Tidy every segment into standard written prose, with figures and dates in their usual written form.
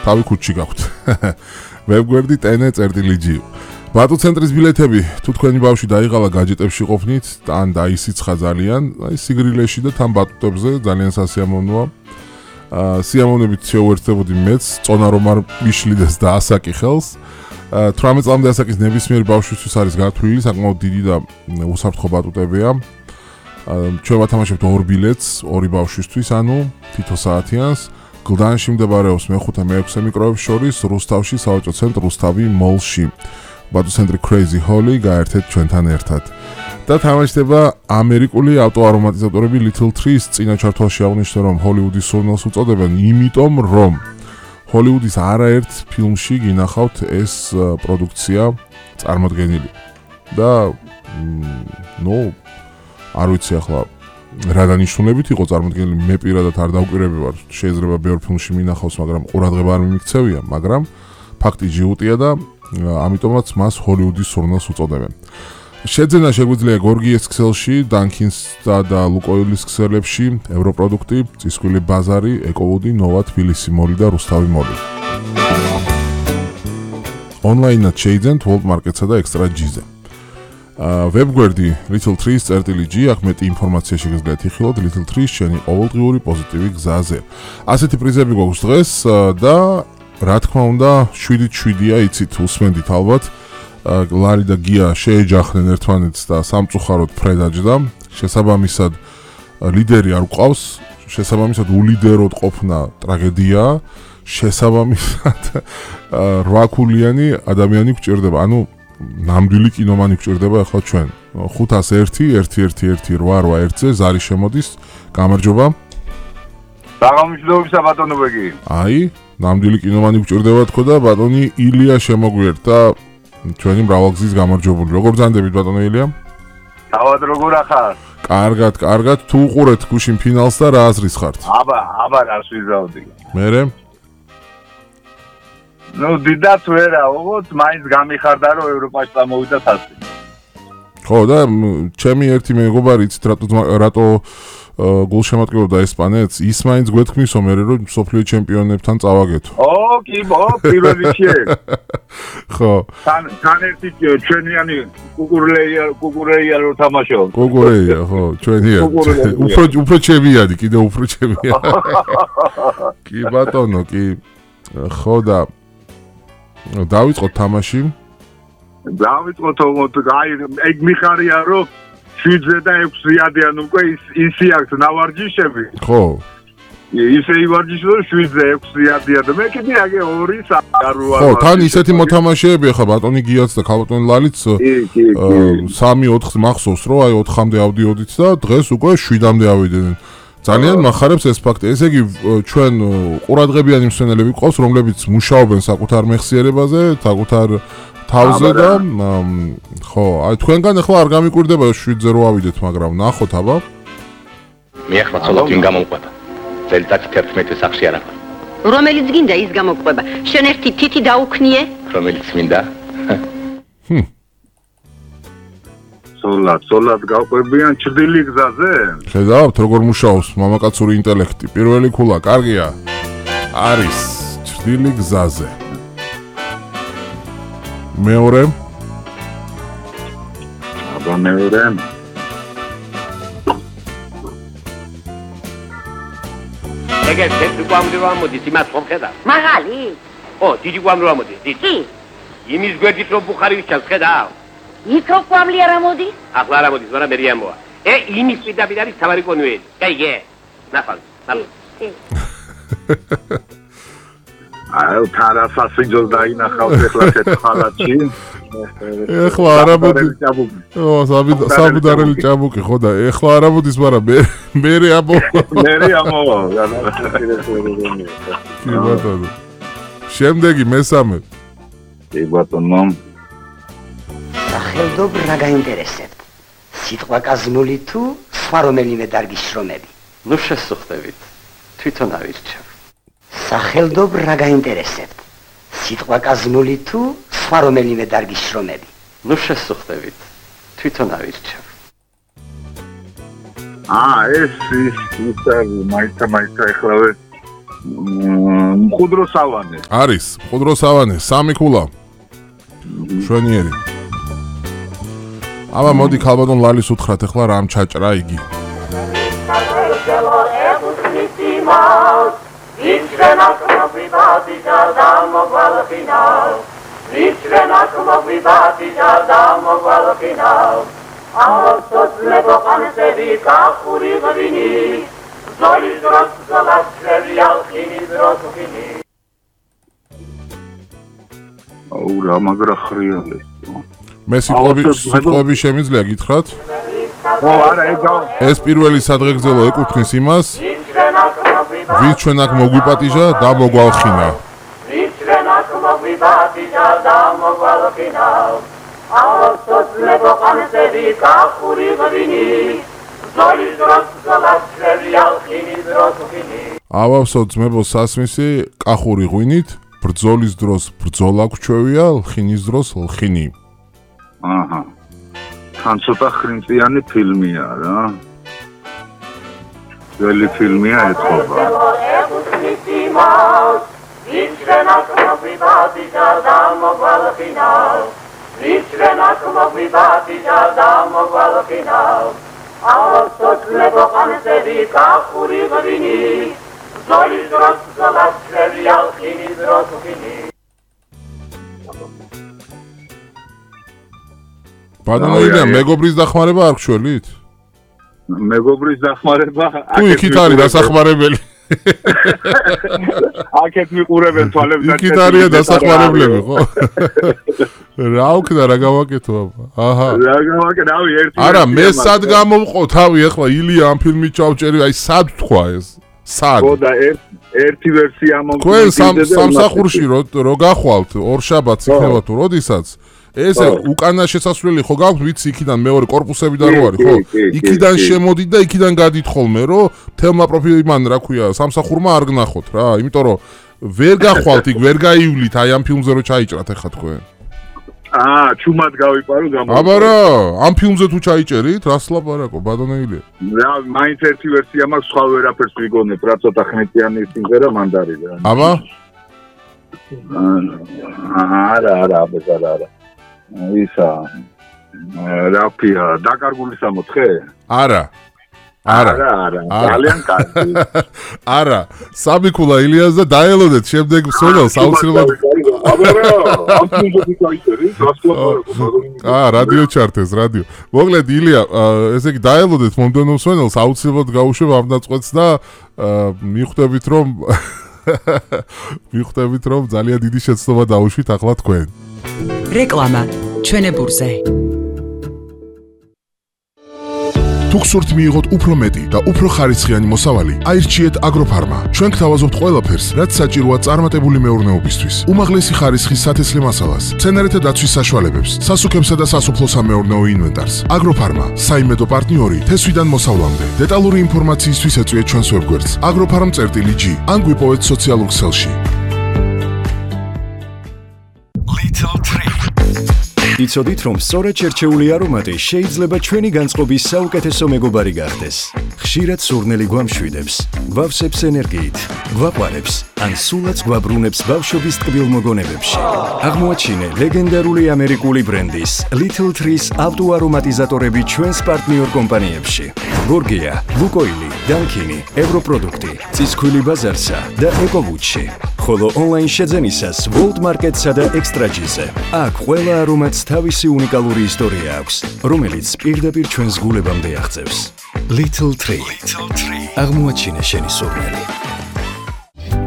თავი ქუჩში გაქვთ. ვებგვერდი tn.gr. ბატუ ცენტრის ბილეთები თუ თქვენი ბავშვი დაიღალა გაჯეტებში ყოფნით ან დაისიცხა ძალიან, აი სიგრილეში და თან ბატუტებზე ძალიან სასიამოვნოა. სიამოვნებით შეუერთდებოდი მეც, წონა რომ არ მიშლიდეს და ასაკი ხელს. 18 წლამდე ასაკის ნებისმიერ ბავშვისთვის არის გათვლილი, საკმაოდ დიდი და უსაფრთხო ბატუტებია. ჩვენ ვათამაშებთ 2 ბილეთს, 2 ბავშვისთვის, ანუ თითო საათიანს. გლდანში მდებარეობს მე-5 მე-6 მიკროებს შორის, რუსთავში სავაჭრო ცენტრ რუსთავი მოლში. ბატუ ცენტრი Crazy Holly გაერთეთ ჩვენთან ერთად. და თამაშდება ამერიკული ავტოარომატიზატორები Little Trees წინა ჩართვაში აღნიშნე რომ ჰოლივუდის სურნელს უწოდებენ, იმიტომ რომ ჰოლივუდის არაერთ ფილმში გინახავთ ეს პროდუქცია წარმოდგენილი. და არ ვიცი ახლა რა დანიშნულებით იყო წარმოდგენილი, მე პირადად არ დავკვირები ვარ, შეიძლება ბევრ ფილმში მინახავს, მაგრამ ყურადღება არ მიმიქცევია, მაგრამ ფაქტი ჯიუტია და ამიტომაც მას ჰოლივუდის სურნელს უწოდებენ. შეძენა შეგვიძლია გორგიეს ქსელში, დანკინსსა და ლუკოილის ქსელებში, ევროპროდუქტი, წისქვილი ბაზარი, ეკოვუდი, ნოვა თბილისი მოლი და რუსთავი მოლი. ონლაინად შეიძენთ World Market-სა და Extra G-ზე. ვებგვერდი little3s.gr, აქ მეტი ინფორმაცია შეგიძლიათ იხილოთ Little 3 შენი ყოველდღიური პოზიტივი გზაზე. ასეთი პრიზები გვაქვს დღეს და რა თქმა უნდა 7-7-ია, იცით, უსმენდით ალბათ. ლარი და გია შეეჯახნენ ერთმანეთს და სამწუხაროდ ფრედაჯდა. შესაბამისად ლიდერი არ გვყავს, შესაბამისად ულიდეროდ ყოფნა ტრაგედია, შესაბამისად 8 ქულიანი ადამიანი გვჭირდება, ანუ ნამდვილი კინომანი გვჭირდება ახლა ჩვენ. 501-111-881-ზე ზარი შემოდის. გამარჯობა. დაღამჯდობისა ბატონო ბეგი. აი, ნამდვილი კინომანი გვჭირდება თქო და ბატონი ილია შემოგვიერთა ჩვენი მრავალგზის გამარჯვებული. როგორ ბრძანდებით ბატონო ილია? თავად როგორ ახარ? კარგად, თუ უყურეთ გუშინ ფინალს და რა აზრის ხართ? აბა რას ვიზავდი. მერე? დიდაც ვერა, ოღონდ მაინც გამიხარდა რომ ევროპაში წამოვიდა თასი. ხო და ჩემი ერთი მეგობარი იცით რატო გულშემატკივრობდა ესპანეთს, ის მაინც გვეთქმისო მერე რომ მსოფლიო ჩემპიონებთან წავაგეთო. პირველ რიგში. ხო. თან ერთი ჩვენიანი კუკურეია რო თამაშობ. კუკურეია, ხო, ჩვენია. უფრო ჩემიანი, კიდე უფრო ჩემიანი. კი ბატონო, კი. ხო და დავიწყოთ თამაში. დავიწყოთ, აი ეგ მიხარია რომ 7-ზე და 6-ზეადიან უკვე ისი აქვს ნავარჯიშები. ხო. ისე ივარჯიშო 7-ზე 6-ზეადიან და მე კიდე აგე 2-3 არ ვარ. ხო, თან ისეთი მოთამაშეები ხა ბატონი გიაც და ქალბატონი ლალიც 3-4 მახსოვს რომ აი 4-მდე ავდიოდით და დღეს უკვე 7-მდე ავიდნენ. ძალიან მახარებს ეს ფაქტი. ესე იგი ჩვენ ყურადღებიანი მსმენელები გვყავს, რომლებიც მუშაობენ საკუთარ მეხსიერებაზე, საკუთარ თავზე და ხო, აი თქვენგან ახლა არ გამიკვირდება 7-ზე რო ავიდეთ, მაგრამ ნახოთ აბა. მე ახლა ცოლად ვინ გამომყვება. წელიწად 11 სახში არ ახლა. რომელიც გინდა ის გამომყვება. შენ ერთი თითი დაუქნიე? რომელიც მინდა? სოლად გავყვებიან ჭრდილი გზაზე? ხედავთ როგორ მუშაობს მამაკაცური ინტელექტი. პირველი ქულა კარგია. არის ჭრდილი გზაზე. მეორე? აბა მეორე. ეგეთ თეთრი კვამრი რომ ამოდის, იმას ხომ ხედავ? მაღალი? დიდი კვამრი რომ ამოდის, დიდი. კი. იმის გვერდით რომ ბუხარი ვიჩანს, ხედავ? იქ რო კვამლი არ ამოდის? ახლა არ ამოდის, მაგრამ მე ამოა. იმის პირდაპირ არის თავარი კონვეიერი. კაიგე. ნახავ. აი, თარასასიჯოს დაინახავს ახლა თეთრხალატში. ეხლა არ ამოდის. სამუდარელი ჭაბუკი, ხო და ეხლა არ ამოდის, მაგრამ მე ამოვა. მე ამოვა. კი ბატონო. შემდეგი მესამე. კი ბატონო. სახელდობ რა გაინტერესებთ? სიტყვა კაზმული თუ სხვა რომელიმე დარგის შრომები? ნუ შესუხდებით. თვითონ ავირჩევ. სახელდობ რა გაინტერესებთ? სიტყვა კაზმული თუ სხვა რომელიმე დარგის შრომები? ნუ შესუხდებით. თვითონ ავირჩევ. ეს მაიცა ეხლავე მყუდრო სავანე. არის მყუდრო სავანე, 3 ქულა. შვენიერი. აბა მოდი ქალბატონ ლალის უთხრათ ახლა რამ ჩაჭრა იგი. აუ რა მაგრა ხრიალე. მე სიტყვები შემიძლია გითხრათ? ო არა ეს პირველი სადღეგრძელო ეკუთვნის იმას, ვის ჩვენ აქ მოგვიპატიჟა და მოგვალხინა. ავავსო ძმებო სასმისი კახური ღვინით, ბრძოლის დროს ბრძოლა გვჩვევია, ლხინის დროს ლხინი. აჰა. თან ცოტა ხრინწიანი ფილმია რა. ძველი ფილმია ეთქობა. ბატონო, მეგობრის დახმარება არ გშველით? მეგობრის დახმარება? თუ იქით არის დასახმარებელი. აქეთ მიყურებენ თვალებს და იქით არის დასახმარებლები, ხო? რა უქნა რა გავაკეთო აბა? აჰა. რა გავაკეთე? რავი, ერთი. არა, მე სად გამოვყო თავი ახლა ილია ამ ფილმით ჩავჭერი, აი სად თქვა ეს? სად? ხო და ერთი ვერსია თქვენ სამსახურში რო გახვალთ ორშაბათს იქნება თუ როდისაც ესე უკანა შესასვლელი ხო გაქვთ ვიცი იქიდან მეორე კორპუსებიდან რო არის ხო იქიდან შემოდით და იქიდან გადით ხოლმე რომ თელმა პროფილიმან რა ქვია სამსახურმა არ გნახოთ რა იმიტომ რომ ვერ გახვალთ იქ ვერ გაივლით აი ამ ფილმზე რო ჩაიჭრათ ახლა თქვენ ჩუმად გავიპარო გამო აბა რა ამ ფილმზე თუ ჩაიჭერით რას ლაპარაკო ბატონეილი რა მაინც ერთი ვერსია მაქვს სხვა ვერაფერს ვიგონებ რა ცოტა ხნეტიანი სიმღერა მანდარი რა აბა არა ისა რაფია დაკარგული 64 არა ძალიან კარგი არა სამი ქულა ილიას და დაელოდეთ შემდეგ სოლოს აუცილებლად რადიო ჩარტეს რადიო მოკლედ ილია ესე იგი დაელოდეთ მომდენო სოლოს აუცილებლად გაუშვებ ამ დაწყვეტს და მიხვდებით რომ ძალიან დიდი შეცდომა დაუშვით ახლა თქვენ რეკლამა ჩვენებურზე თუ გსურთ მიიღოთ უფრო მეტი და უფრო ხარისხიანი მოსავალი, აირჩიეთ აგროფარმა. ჩვენ გთავაზობთ ყველაფერს, რაც საჭიროა წარმატებული მეურნეობისთვის. უმაღლესი ხარისხის სათესლე მასალას, მცენარეთა დაცვის საშუალებებს, სასუქებსა და სასოფლო-სამეურნეო ინვენტარს. აგროფარმა, საიმედო პარტნიორი თესვიდან მოსავლამდე. დეტალური ინფორმაციისთვის ეწვიეთ ჩვენს ვებგვერდს agroffarm.g ან გვიპოვეთ სოციალურ ქსელში. იცოდით, რომ სწორად შერჩეული არომატი შეიძლება ჩვენი განწყობის საუკეთესო მეგობარი გახდეს. ხშირად სურნელი გვამშვიდებს, გვავსებს ენერგიით, გვაყვარებს, ან სულაც გვაბრუნებს ბავშვობის ტკბილ მოგონებებში. აღმოაჩინე ლეგენდარული ამერიკული ბრენდის Little Trees ავტოარომატიზატორები ჩვენს პარტნიორ კომპანიებში. გორგია, ლუკოილი, დანკინი, ევროპროდუქტი, წისქვილი ბაზარსა და ეკოვუჩი. ხოლო ონლაინ შეძენისას World Market-სა და Extra-G-ზე. აქ ყველა არომატს თავისი უნიკალური ისტორია აქვს, რომელიც პირდაპირ ჩვენს გულებამდე აღწევს. Little Tree. აღმოაჩინე შენი სურნელი.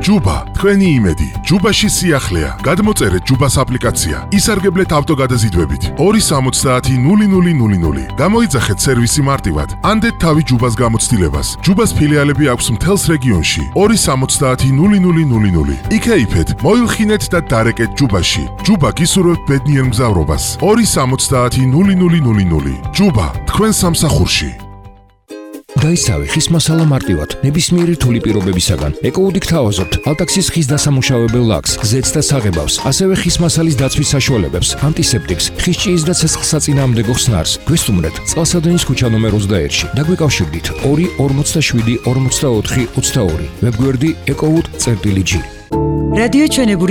ჯუბა, თქვენი იმედი. ჯუბაში სიახლეა. გადმოწერეთ ჯუბას აპლიკაცია. ისარგებლეთ ავტოგადაზიდვებით. 270-0000. გამოიძახეთ სერვისი მარტივად. ანდეთ თავი ჯუბას გამოცდილებას. ჯუბას ფილიალები აქვს მთელს რეგიონში. 270-0000. იქეიფეთ, მოილხინეთ და დარეკეთ ჯუბაში. ჯუბა გისურვებთ ბედნიერ მგზავრობას. 270-0000. ჯუბა, თქვენ სამსახურში. გაიცავი ხის მასალა მარტივად, ნებისმიერი რთული პირობებისაგან. ეკოუდი გთავაზობთ ალტაქსის ხის დასამუშავებელ ლაქს, ზეთს და საღებავს, ასევე ხის მასალის დაცვის საშუალებებს, ანტისეპტიკს, ხის ჭიის და ცეცხლსაწინააღმდეგო ხსნარს. გვესტუმრეთ წყალსადენის ქუჩა ნომერ 21-ში. დაგვიკავშირდით 2 47 44 22. ვებგვერდი ecowood.gr. რადიო ჩვენებურის